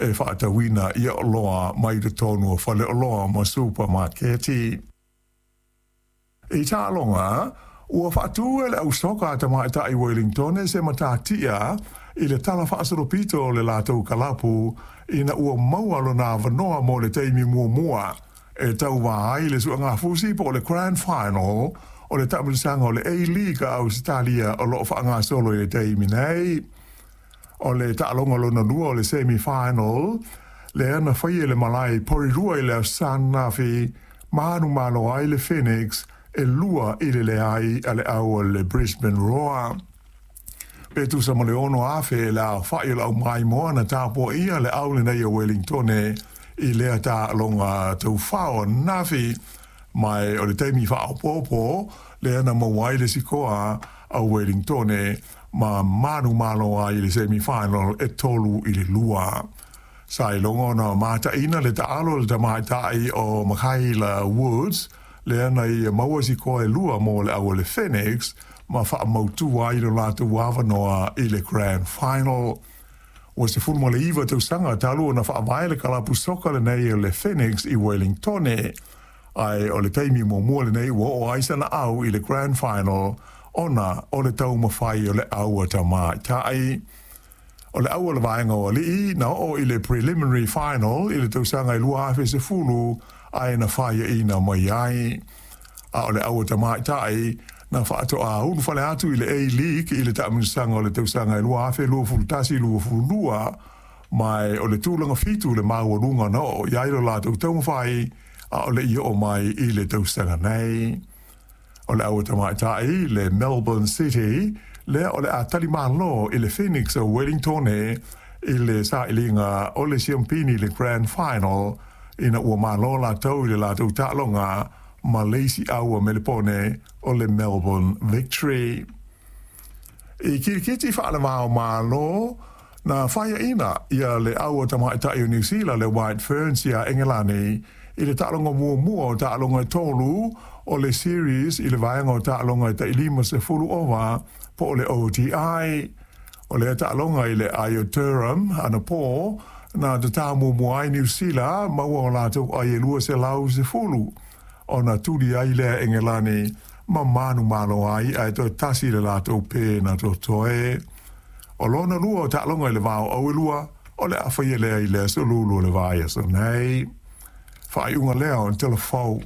e faatauina ia oloa mai totonu o faleoloa ma supamaketi. I taaloga, ua faatu e le au soka a tamaitai Wellingtone se matatia i le tala faasolopito o le latou kalapu ina ua maua lona avanoa mo le taimi muamua e tauvā ai i le suegafusi po o le Grand Final o le taamilosaga o le A-League a Ausetalia o lo o faagasolo i le taimi nei. O le taaloga lona lua o le Semi Final lea na faia i le malae i Porirua i le Aso Sa ananafi, manumalo ai le Phoenix e 2-0 a le au a le Brisbane Roar. Pe tusa ma le 6,000 le aofai o le aumaimoa na tapuaia le au lenei o Wellingtone i lea taaloga taufao ananafi, ma o le taimi faaopoopo lea na maua ai le sikoa a Wellingtone ma manumalo ai i le semi final e 3-2. Sa iloga ona mataina le taalo a le tamaitai o Makayla Woods lea na ia maua sikoa e lua mo le au a le Phoenix ma faamautu ai lo latou avanoa i le Grand Final. Ua 19 tausaga talu ona faavae le kalapu soka lenei o le Phoenix i Wellingtone, ae o le taimi muamua lenei ua oo ai sana au i le Grand Final ona o le taumafai o le au a tamaitai. O le au o le vaega o alii na oo i le Preliminary Final i le tausaga e 2010 ae na faiaina mai ai. A o le au a tamaitai na faatoa ulufale atu i le A-League i le taamilosaga o le tausaga e 2021-2022, ma o le tulaga fitu le maualuga na oo i ai lo latou taumafai a o le i oo mai i le tausaga nei. O le au a tamaitai le Melbourne City lea o le a talimalo i le Phoenix o Wellingtone i le sailiga o le siampini i le Grand Final ina ua malo latou i le latou taaloga ma le isi au a Melepone o le Melbourne Victory. I kirikiti faalevao Malo, na faiaina ia le au a tamaitai o Niu Sila le White Ferns iā Engelani i le taaloga muamua o taaloga e tolu o le series i le vaega o taaloga e tai 50 ova po o le ODI. O lea taaloga i le ai o Durham anapō na tatā muamua ai Niu Sila maua o latou ai e 210 ona tuli ai lea Engelani ma manumalo ai ae toe tasi le latou pē na totoe. O lona lua o taaloga i le va o Auelua o le a faia lea i le aso Lulu o le vaiaso nei. Faaiuga lea o le Tala Fou.